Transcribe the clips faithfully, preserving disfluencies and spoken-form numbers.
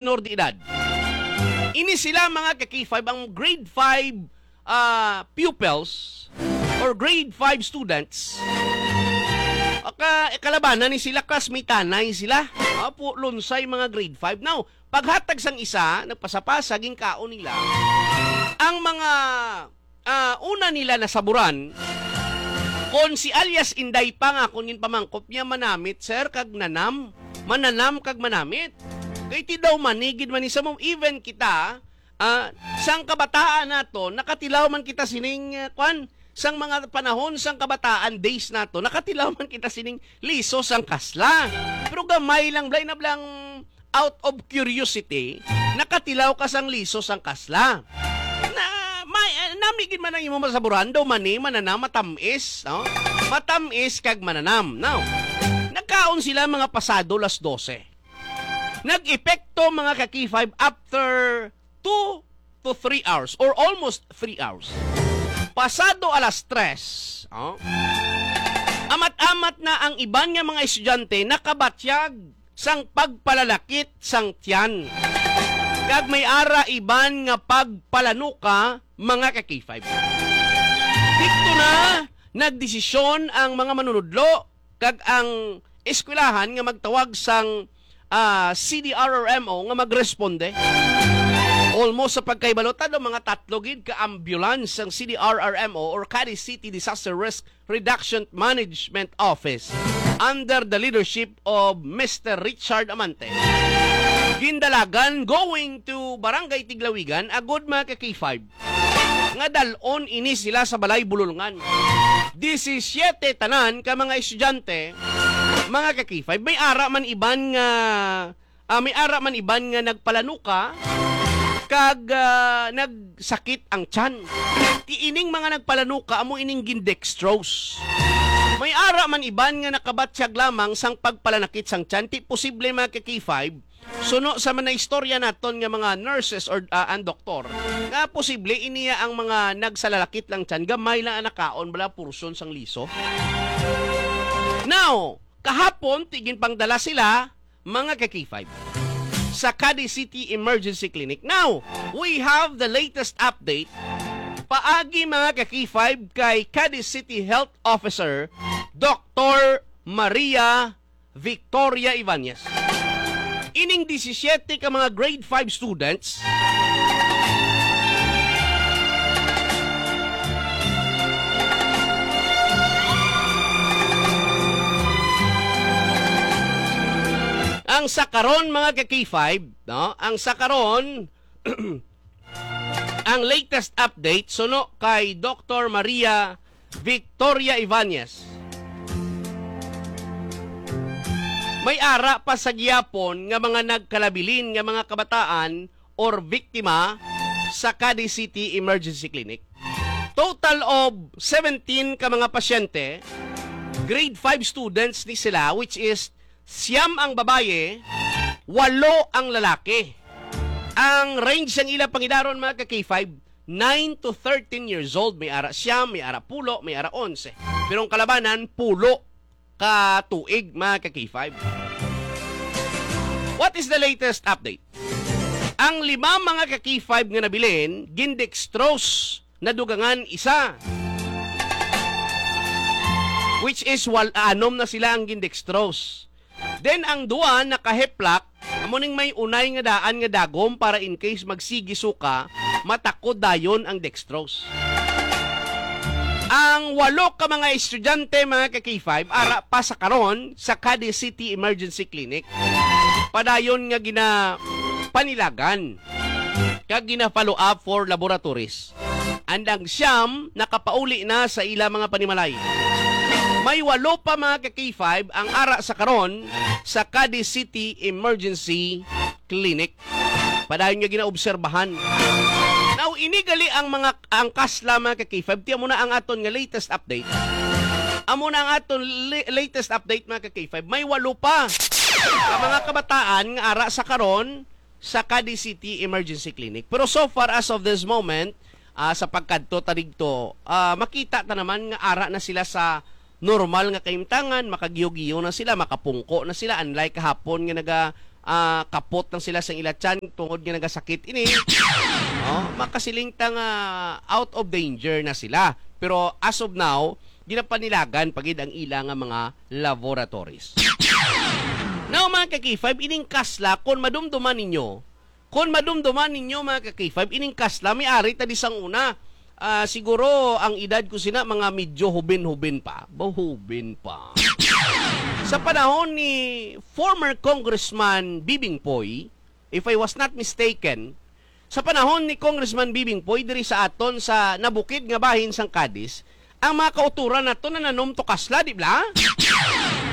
minor de edad. Ini sila, mga ka-K five, ang grade five, ah, pupils or grade five students. Aka-, kalabanan ni sila, classmate-anay sila. Apo, lunsay mga grade five. Now, paghatag sang isa, nagpasapasa, ginkaon nila ang mga, ah, una nila nasaburan, kon si alias Inday pa nga, kon ginpamangkot niya, manamit, sir, kag nanam. Mananam kag manamit. Kay ti daw manigid man ni sa mo, even kita, ah, sang kabataan nato, nakatilaw man kita sining, ah, kwan, sang mga panahon sang kabataan, days nato, nakatilaw man kita sining liso sang kasla. Pero gamay lang, blay na blang out of curiosity, nakatilaw ka sang liso sang kasla. Na, may, ah, nami gid man ang imo masaburan, daw mani, mananam, matamis, no? Matamis kag mananam. Now, nagkaon sila mga pasado las dose. Nag-epekto, mga ka-K five, after two to three hours or almost three hours. Pasado alas tres, oh, amat-amat na ang iban nga mga estudyante nakabatyag sang pagpalalakit sang tiyan. Kag may ara iban nga pagpalanuka, mga ka-K five. Didto na nagdesisyon ang mga manunudlo kag ang eskwelahan nga magtawag sang, ah, C D R R M O nga magresponde. Almost sa pagkahibalo, tado mga tatlo gid ka ambulance ang C D R R M O or Cadiz City Disaster Risk Reduction Management Office under the leadership of Mister Richard Amante. Gindalagan going to Barangay Tiglawigan, agud, mga ka-K five, nga dal-on ini sila sa balay bululngan. Disisiete tanan ka mga estudyante, mga ka-K five. May ara man iban nga, ah, may ara man iban nga nagpalanuka kag, ah, nagsakit ang tiyan. Ti ining mga nagpalanuka amo ining gindextrose. May ara man iban nga nakabatyag lamang sang pagpalanakit sang tiyan. Ti posible, mga ka-K five, suno sa mga istorya naton nga mga nurses or, ah, ang doktor, nga posible iniya ang mga nagsalalakit lang tiyan, gamay lang ang nakaon, bala, portion sang liso. Now, kahapon, ti ginpangdala sila, mga ka-K five, sa Cadiz City Emergency Clinic. Now, we have the latest update paagi, mga ka-K five, kay Cadiz City Health Officer Doktor Maria Victoria Ibanez. Ining disisiete ka mga grade five students, ang sa karon, mga ka-K five, no? Ang sa karon, ang latest update suno kay Doktor Maria Victoria Ibanez. May ara pa sa gihapon nga mga nagkalabilin nga mga kabataan or biktima sa Cadiz City Emergency Clinic. Total of seventeen ka mga pasyente, grade five students ni sila, which is siyam ang babaye, walo ang lalaki. Ang range sang ila pangidaron, mga ka-K five, nine to thirteen years old, may ara siyam, may ara pulo, may ara onse. Pero ang kalabanan, pulo ka tuig, mga ka-K five. What is the latest update? Ang lima, mga ka-K five, nga nabilin, gindextrose, nadugangan isa. Which is, wal-, anom na sila ang gindextrose. Then, ang duwa naka-heplak, amo ning may unay nga daan nga dagom para in case magsigi suka, matakod dayon ang dextrose. Ang walo ka mga estudyante, mga ka-K five, ara pa sa karon sa Cadiz City Emergency Clinic. Padayon nga ginapanilagan kag gina-follow up for laboratories. And ang siyam nakapauli na sa ila mga panimalay. May walo pa, mga ka-K five, ang ara sa karon sa Cadiz City Emergency Clinic. Padayon nga ginaobserbahan. Now, ini gali ang mga, ang kasla, mga ka-K five, ti amo na ang aton nga latest update. Amo na ang aton li-, latest update, mga ka-K five. May walo pa ang mga kabataan nga ara sa karon sa Cadiz City Emergency Clinic. Pero so far, as of this moment, ah, sa pagkadto ta didto, ah, makita ta naman nga ara na sila sa normal nga kahimtangan, makagiyo-giyo na sila, makapungko na sila, unlike kahapon nga naga-, ah, kapot lang sila sa ila tiyan tungod nga nagasakit ini. Oh, makasiling ta nga out of danger na sila. Pero as of now, ginapanilagan pa gid ang ila nga mga laboratories. Now, mga ka-K five, ining kasla, kung madumduman ninyo, kung madumduman ninyo, mga ka-K five, ining kasla, may ari ta di sang una. Ah, siguro ang edad ko sina mga medyo hubin-hubin pa. Ba, hubin pa. Sa panahon ni former Congressman Bibing Poy, if I was not mistaken, sa panahon ni Congressman Bibing Poy diri sa aton sa nabukid nga bahin sang Cadiz, ang mga kauturan nato nananom to kasla, di bla?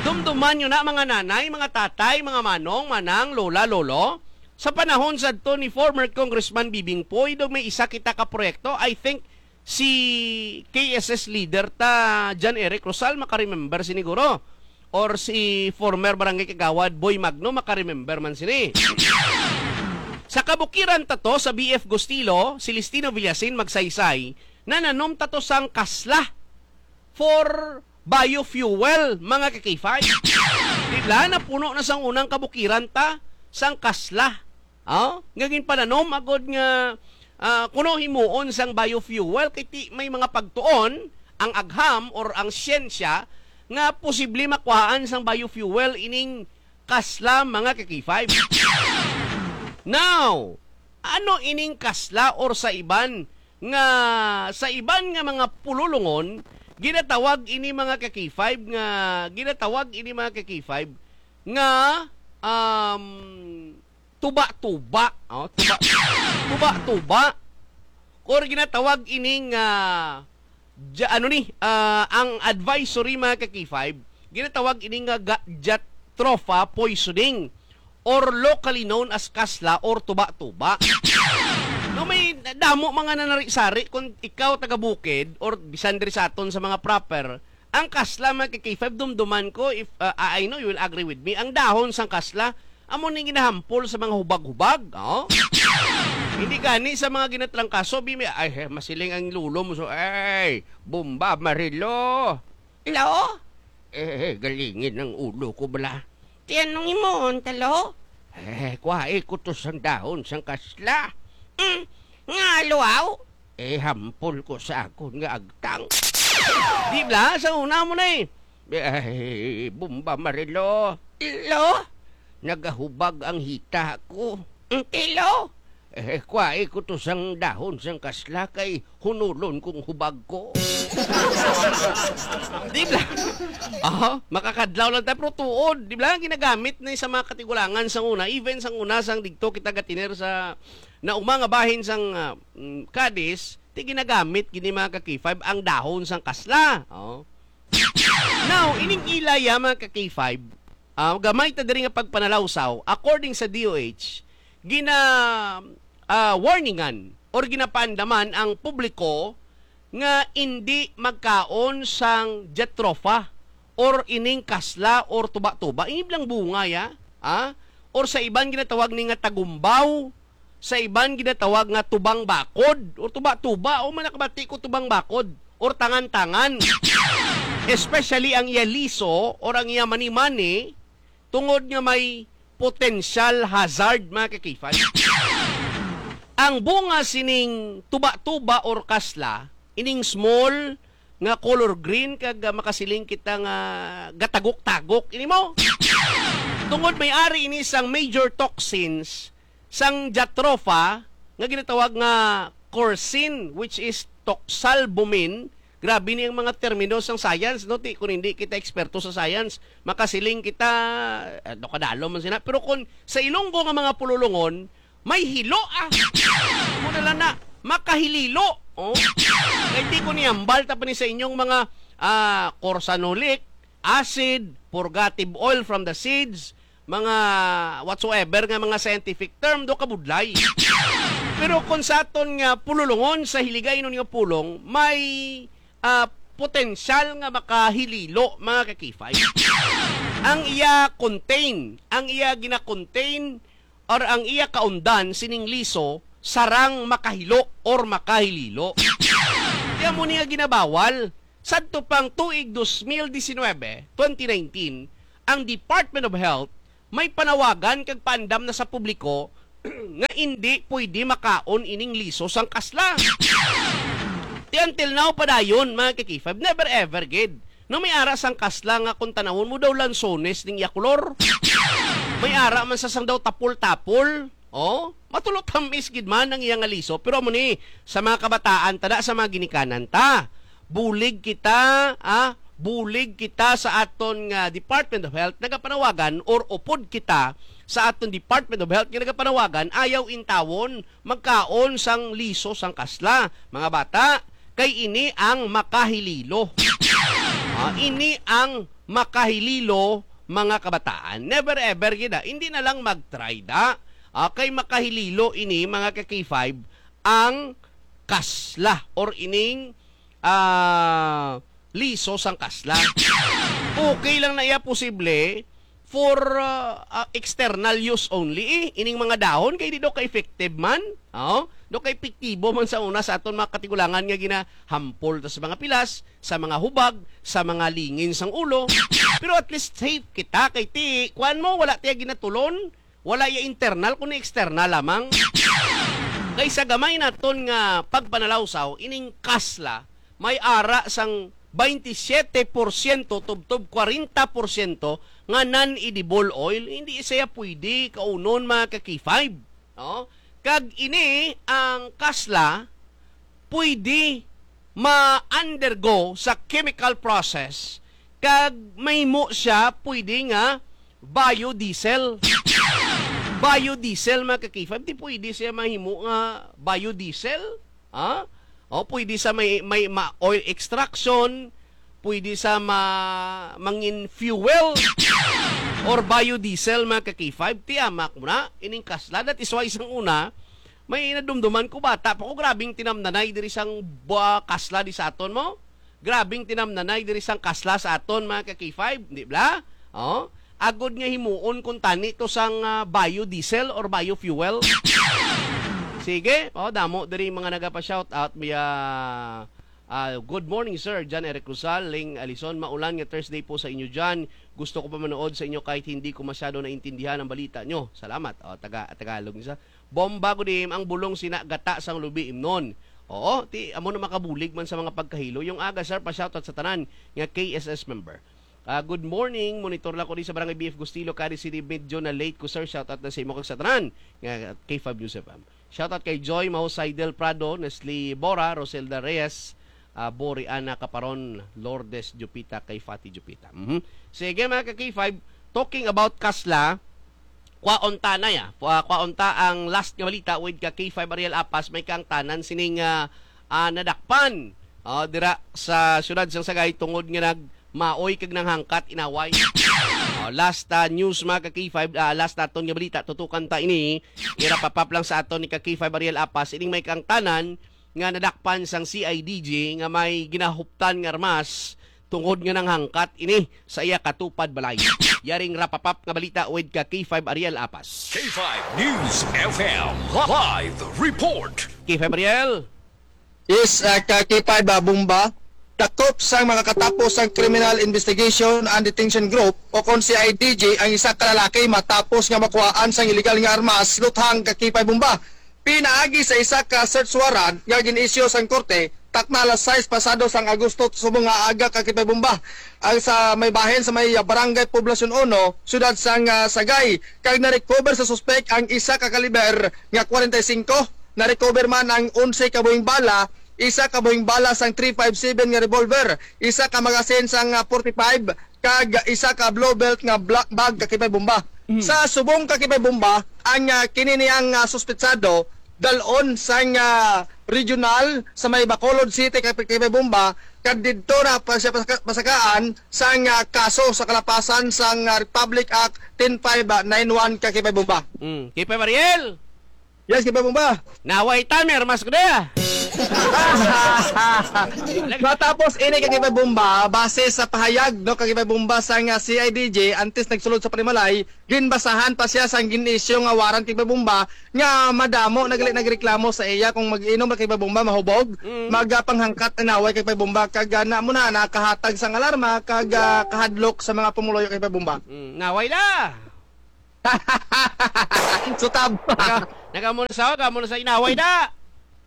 Dumduman nyo na, mga nanay, mga tatay, mga manong, manang, lola, lolo. Sa panahon sadto ni former Congressman Bibing Poy, daw may isa kita ka proyekto. I think si K S S leader ta, John Eric Rosal, makaremember siniguro. Or si former barangay kagawad Boy Magno, makaremember man sini. Sa kabukiran ta to, sa B F Gustilo, Celestino Villasin, Magsaysay, nananom ta to sang kasla for biofuel, mga ka-K five. Di bla, napuno na sang unang kabukiran ta sang kasla. Oh, nga ginpananom agod nga, ah, kuno himuon sang biofuel, kay ti may mga pagtuon ang agham or ang siyensya nga posible makuhaan sang biofuel ining kasla, mga ka-K five. Now, ano ining kasla or sa iban nga, sa iban nga mga pululungon, ginatawag ini, mga ka-K five, nga, ginatawag ini, mga ka-K five, nga, um, tuba-tuba. Oh, tuba, tuba-tuba. Or ginatawag ini nga, ja-, ano ni, ah, ang advisory, mga ka-K five, ginatawag ini nga ga-, jatropha poisoning or locally known as kasla or tuba-tuba. No, may damo mga nanari-sari kung ikaw taga bukid or bisan diri sa aton sa mga proper, ang kasla, mga ka-K five, dumduman ko, if, uh, I know you will agree with me, ang dahon sang kasla, amo ning ginahampol sa mga hubag-hubag, oh? Hindi gani sa mga ginatrangkaso, bi, may, ay, eh, masiling ang lulo mo, so, ay, bomba, marilo. Lo? Eh, eh, galingin ang ulo ko, bala. Ti anong himuon ta, lo? Eh, kuhai ko to sang dahon sang kasla. Mm, nga luaw? Eh, hampol ko sa akon nga agtang. Di bla, sa una mo na eh. Ay, bomba, marilo. Lo? Nagahubag ang hita ko. Ang tilo? Eh, kuhai ko to sang dahon sang kasla kay hunulon kong hubag ko. Di bla? Aha, makakadlaw lang tayo, pero tuod. Di bla, ginagamit na sa mga katigulangan sang una. Even sang una, sang digto kita gatiner sa nauma nga bahin sang, ah, mm, Cadiz, ti ginagamit gini, mga ka-K five, ang dahon sang kasla. Oh. Now, ining ila ya, mga ka-K five, ah, gamay ta diri nga pagpanalawsaw, according sa D O H, gina, ah, warningan or ginapaandaman ang publiko nga indi magkaon sang jatropha or ining kasla or tuba-tuba. Ini blang bunga ya, ah? Or sa iban ginatawag ni nga tagumbaw, sa iban ginatawag nga tubang bakod or tuba-tuba. O, man nakabati ko tubang bakod or tangan-tangan. Especially ang iya liso or ang iya mani-mani, tungod nga may potential hazard, mga ka-K five. Ang bunga sining tuba-tuba or kasla, ining small nga color green, kag, ah, makasiling kita nga gatagok-tagok, ini mo? Tungod may ari ini sang major toxins sang jatropha nga ginatawag nga corcin, which is toxalbumin. Grabe ni ang mga termino sang science, no? Ti, kung hindi kita eksperto sa science, makasiling kita, eh, no, kadalo man sina. Pero kung sa Ilonggo nga mga pululungon, may hilo, ah. Muna lang na, makahililo. Oh. Kay di ko niyambal ta pa ni sa inyong mga, ah, corsanolic acid, purgative oil from the seeds, mga whatsoever nga mga scientific term, do kabudlay. Pero kung sa aton nga pululungon, sa hiligaynon nga pulong, may, ah, potensyal nga makahililo, mga ka-K five. Ang iya contain, ang iya gina-contain, or ang iya kaundan sining liso, sarang makahilo or makahililo. Kaya mo niya ginabawal. Sadto pang tuig dos mil disinwebe, twenty nineteen, ang Department of Health may panawagan kag paandam na sa publiko nga indi pwede makaon ining liso sang kasla. Ti until now pa dayon, mga ka-K five, never ever gid. No, may ara sang kasla nga kung tanawon mo daw lansones ning iya kolor. May ara man sa sang daw tapol-tapol. Oh, matulo tamis gid man ang iya nga liso, pero amo ni sa mga kabataan, tada sa mga ginikanan ta. Bulig kita, ah, bulig kita sa aton nga Department of Health nagapanawagan, or upod kita sa aton Department of Health nga nagapanawagan, ayaw intawon magkaon sang liso sang kasla, mga bata, kay ini ang makahililo. Ah, ini ang makahililo, mga kabataan. Never ever gid, ah. Hindi na lang mag-try da. Ah, kay makahililo ini, mga ka-K five, ang kasla or ining, ah, liso sang kasla. Okay lang na iya posible for, ah, ah, external use only, eh, ining mga dahon kay di daw ka-effective man. Oh, daw ka-epektibo man sa una sa aton mga katigulangan nga ginahampol ta sa mga pilas, sa mga hubag, sa mga lingin sang ulo. Pero at least safe kita kay ti, kuan mo, wala tiya ginatulon, wala iya internal, kundi external lamang. Kay sa gamay naton nga pagpanalawsaw, ining kasla may ara sang twenty-seven porsyento tubtob forty porsyento nga non-edible oil. Hindi siya pwede kaunon, mga ka-K five. No? Kag ini ang kasla pwede ma-undergo sa chemical process kag mahimo siya pwede nga biodiesel. Biodiesel, mga ka-K five, di pwede siya mahimo nga biodiesel. Ha? O pwede sa may, may ma-, oil extraction, pwede sa ma-, mangin fuel or biodiesel, mga ka-K five. Tiyamak mo na, ining kasla. That is why sang una, may nadumduman ko, bata pa ko, grabing tinamnanay diri sang ba-, kasla di sa aton mo. Grabing tinamnanay diri sang kasla sa aton, mga ka-K five, di bla? Oh, agod nga himuon kung tani to sang, ah, biodiesel or biofuel. Sige, oh, damo diri mga nagapa-shout out. May, ah, ah, "Good morning, sir." John Eric Rosal, Ling Alison, "Maulan nga Thursday po sa inyo dyan. Gusto ko pa manood sa inyo kahit hindi ko masyado naintindihan ang balita nyo." Salamat. Oh, taga, Tagalog ni sa. "Bomba gud im ang bulong sina gata sang lubi imnon." Oo, ti amo na makabulig man sa mga pagkahilo. Yung aga, sir, pa-shoutout sa tanan nga K S S member. Ah, "Good morning, monitor lang ko di sa Barangay B F Gustilo, Cadiz City. Medyo na late ko, sir. Shoutout na sa imo kag sa tanan nga K five News F M." Shoutout kay Joy Mahusay Del Prado, Nestle Bora, Roselda Reyes, ah, Bori Ana Caparon, Lourdes Jupita, kay Fati Jupita. Mhm. Sige, mga ka-K five, talking about kasla, kwaon ta na ya. Kwa-, kwaon ta ang last nga balita with ka K five Ariel Apas, may kaangtanan sining, ah, ah, nadakpan, oh, dira sa siyudad sang Sagay tungod nga nagmaoy kag nanghangkat inaway. Oh, last, ah, news, mga ka K five, ah, last naton nga balita, tutukan ta ini. Ira-wrap up lang sa aton ni ka K five Ariel Apas, ining may kaangtanan nga nadakpan sang C I D G nga may ginahuptan nga armas tungod nga nanghangkat ini sa iya katupad balay. Yaring wrap up nga balita with ka K five Ariel Apas. K five News F M live report. K five Ariel. Yes, uh, ka K five, uh, Bomba. Dakop sang mga katapos sang Criminal Investigation and Detention Group o kon C I D G ang isa ka lalaki matapos nga makuhaan sang illegal nga armas luthang ka K five, Bomba. Pinaagi sa isa ka search warrant nga gin-issue sang korte, takna alas sais pasado sang Agosto subong nga aga ka K five, Bomba, ang sa may bahin sa may Barangay Poblacion Uno, siyudad sang, ah, Sagay, kag na-recover sa suspek ang isa ka kaliber nga kwarenta y singko. Na-recover man ang onse ka buhing bala, isa ka buhing bala sang three five seven nga revolver, isa ka magasin sang, ah, forty-five, kag isa ka blue belt nga black bag ka K five, Bomba. Mm. Sa subong ka K five, Bomba, ang, ah, kini niyang, ah, suspetsado dal-on sang, ah, regional sa may Bacolod City ka K five, Bomba, kag didto na pa siya pasaka-, pasakaan sang, ah, kaso sa kalapasan sang, ah, Republic Act ten five nine one ka K five, Bomba. Mm. K five Ariel! Yes, K five, Bomba. Naway ta, may armas ko na. Matapos ini ka K five, Bomba, base sa pahayag, no, ka K five, Bomba, sang, ah, C I D G, antes nagsulod sa panimalay, ginbasahan pa siya sang gin-issue nga warrant ka K five, Bomba, nga madamo nagali nagreklamo sa iya kung mag-inom ka K five, Bomba, mahubog, mm, magapanghangkat na naway ka K five, Bomba, kag, ah, na mo na nakahatag sang alarma kag, ah, kahadlok sa mga pumuluyo ka K five, Bomba. Mm, naway la. Sutab. Naka, naka mo na sa, naka mo na sa inaway na.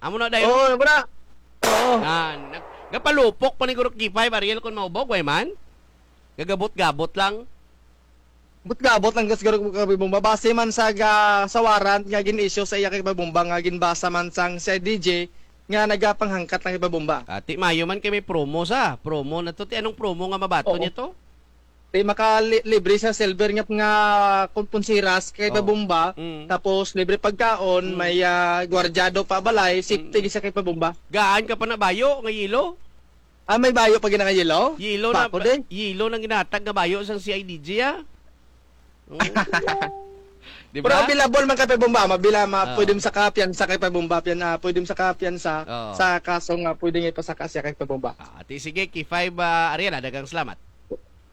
Amo na dayon. Oo, bra. Oo. Ah, nag, gapalupok pa ni Guro K five, Ariel, kung maubog, way man. Gagabot-gabot lang. Gabot-gabot lang, gas, Guro K five Bomba. Base man sa ga, sa warrant nga gin-issue sa iya kay Bomba nga ginbasa man sang C I D G nga nagapanghangkat lang kay Bomba. Ati, mayo man kay may promo sa. Promo na to. Ti, anong promo nga mabaton Oo. niya to? Ti, maka li-, libre sa silver nga, nga kun-, punsiras kay Oh. Bomba. Mm. Tapos, libre pagkaon, Mm. may, ah, gwardyado pa balay, safety Mm. gisa kay Bomba. Gaan ka pa na bayo nga yelo? Ah, may bayo pa gina nga yelo? Yelo na, Bako din. Yelo nang ginatag nga bayo sang C I D G, ah. Mm. Di Pero ba? Available man kay Bomba, mabila, ma-, Ah. pwede mo sa kapiyansa kay Bomba, piyan, ah, pwede mo sa kapiyansa Oo. sa kaso nga pwede nga ipasaka siya kay Bomba. Ah, ti sige, K five, ah, Ariel, ah, daghang salamat.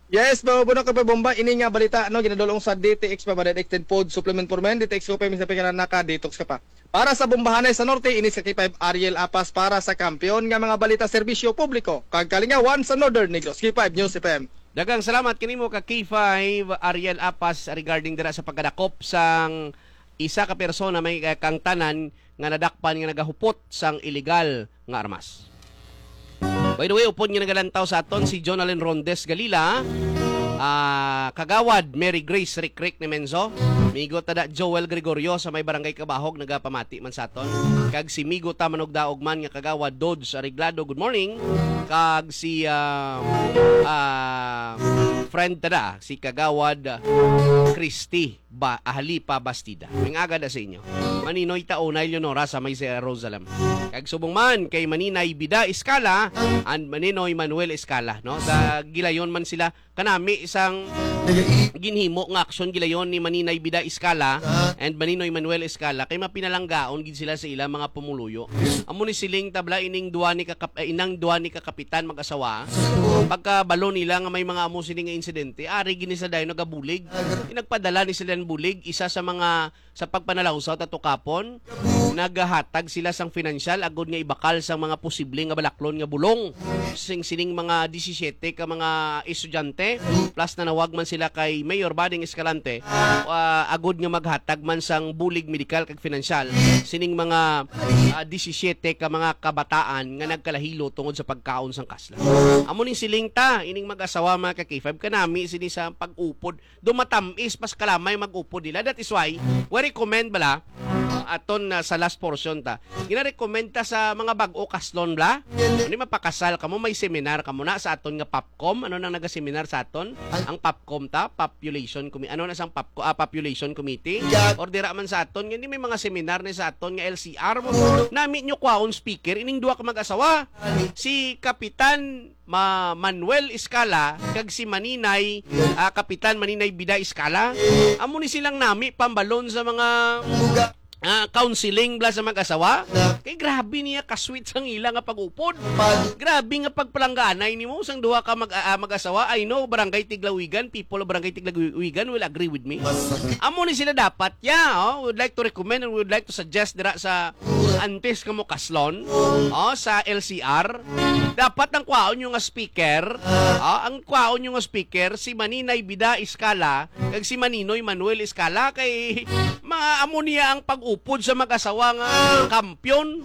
Yes, mabuno ka pa, Bomba. Ini nga balita, no, ginadulong sa D T X pa ba, Extended Food Supplement for Men, D T X ko pa, minsan pa ka na naka-detox ka pa. Para sa Bombahanay sa Norte, ini sa K five Ariel Apas para sa kampiyon nga mga balita, serbisyo publiko, kag kalingawan sa Northern Negros. K five News F M. Daghang salamat kanimo ka K five Ariel Apas regarding dira sa pagkadakop sang isa ka persona may, eh, kang tanan nga nadakpan nga nagahupot sang iligal nga armas. By the way, upod nga nagalantaw sa aton si Jonalyn Rondes Galila, ah, Kagawad Mary Grace Rikrik ni Menzo, migo ta da Joel Gregorio sa may barangay Kabahog nagapamati man sa aton, kag si migo ta manugdaog man nga Kagawad Dodge Arreglado, good morning, kag si, ah, ah, friend ta da, si Kagawad Christy ba, Ahalipa Bastida. May aga da sa inyo. Maninoy Taunay Leonora sa may Jerusalem. Kag subong man kay Maninay Bida Escala and Maninoy Manuel Escala, no? Sa gilayon man sila, kanami sang ginhimo nga aksyon gilayon ni Maninay Bida Escala and Maninoy Manuel Escala kay mapinalanggaon gid sila sa ilang mga pumuluyo. Amo ni siling tabla ining duwa ni kakap-, eh, inang duwa ni kakapitan mag-asawa. Pagkabalo nila nga may mga amo sini nga insidente, ari gini sa dayon nagabulig. Nagpadala ni sila ng bulig, isa sa mga sa pagpanalawsaw ta tukapon, nagahatag sila sang financial agud nga ibakal sang mga posible nga balaklon nga bulong sing sining mga disisiete ka mga estudyante, plus nanawag man sila kay Mayor Bading Escalante, ah, agud nga maghatag man sang bulig medikal kag financial sining mga, ah, disisiete ka mga kabataan nga nagkalahilo tungod sa pagkaon sang kasla. Amo ning siling ta, ining mag-asawa, mga ka-K five, kanami sini sa pag-upod. Dumatamis pas kalamay mag-upod nila. That is why, we recommend bala, aton na sa last portion ta. Gina-recommend ta sa mga bag-o kaslon bala. Ano, mapakasal kamo, may seminar kamo na sa aton nga POPCOM. Ano nang naga-seminar sa aton? Ang POPCOM ta, population committee. Ano na sang POPCO-, ah, population committee? Or dira man sa aton, hindi may mga seminar ni sa aton nga L C R mo. Nami nyo kwaon speaker, ining duha ka mag-asawa. Si Kapitan Ma-, Manuel Escala kag si Maninay, ah, Kapitan Maninay Bida Escala. Amo ni silang nami pambalon sa mga, ah, counseling bala sa mag-asawa. Kay grabe niya ka-sweet sang ila nga pag-upod. Grabe nga pagpalangganay nimo sang duha ka mag-, ah, mag-asawa. I know, Barangay Tiglawigan, people of Barangay Tiglawigan will agree with me. Amo ni sila dapat, yeah, oh, we would like to recommend and we would like to suggest dira sa antes kamo kaslon, oh, sa L C R, dapat ang kwaon nyo nga speaker, ah, ang kwaon nyo nga speaker, si Maninay Bida Escala, kag si Maninoy Manuel Escala, kay mga amo niya ang pag-upod sa mag-asawa nga kampiyon.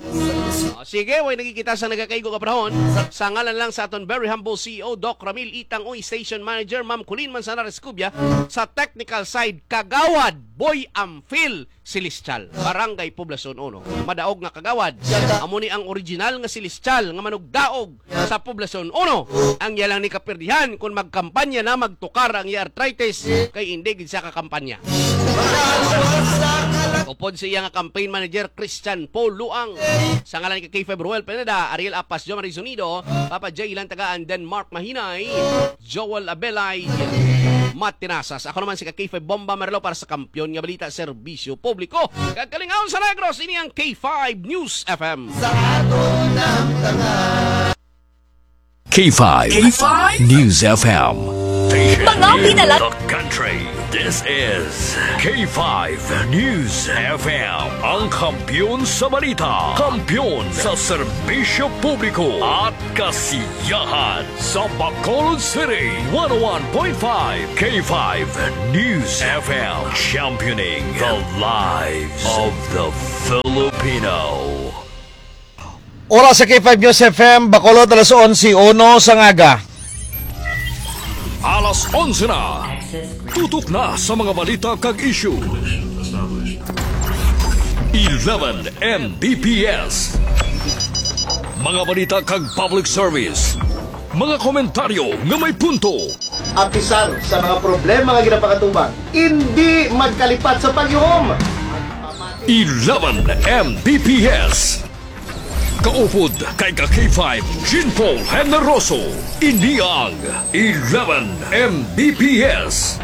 Oh, sige, way nakikita sa nagakaigo nga panahon. Sa ngalan lang sa aton very humble C E O, Doc Ramil Itang, Uy, Station Manager, Ma'am Colleen Manzanares Cubia, sa technical side, Kagawad Boy Amphil, Celestial, Barangay Poblacion Uno. Madaog nga kagawad, amo ni ang original nga Celestial nga manugdaog sa Poblacion Uno. Ang iya lang ni kapirdihan kung magkampanya na, magtukar ang iya arthritis, kay hindi gid siya kakampanya. Upod sa iya nga campaign manager, Christian Paul Luang. Sa ngalan ni K five Roel Pineda, Ariel Apas, John Marie Zunido, Papa J Lantagaan, Denmark Mahinay, Joel Abelay, Matinasas. Ako naman si ka K five Bomba Marlo para sa Kampiyon nga Balita, Serbisyo Publiko kag Kalingawan sa Negros. Ini ang K five News F M. Sa aton ang tanan. K five. K five News F M. Mga pinala- The country. This This is K five News F M, ang kampiyon sa balita, kampiyon sa serbisyo publiko at kasiyahan sa Bacolod City. One oh one point five K five News F M, championing the lives of the Filipino. Oras sa K five News F M, Bacolod, alas onse uno sa ngaga. Alas onse na. Tutok na sa mga balita kag issue. Eleven M B P S. Mga balita kag public service. Mga komentaryo nga may punto. Apisar sa mga problema nga ginapakatubang, indi magkalipat sa pagyuhom. Eleven M B P S. Kaupod kay ka K five, Jean Paul Generoso. Ini ang Eleven M B P S.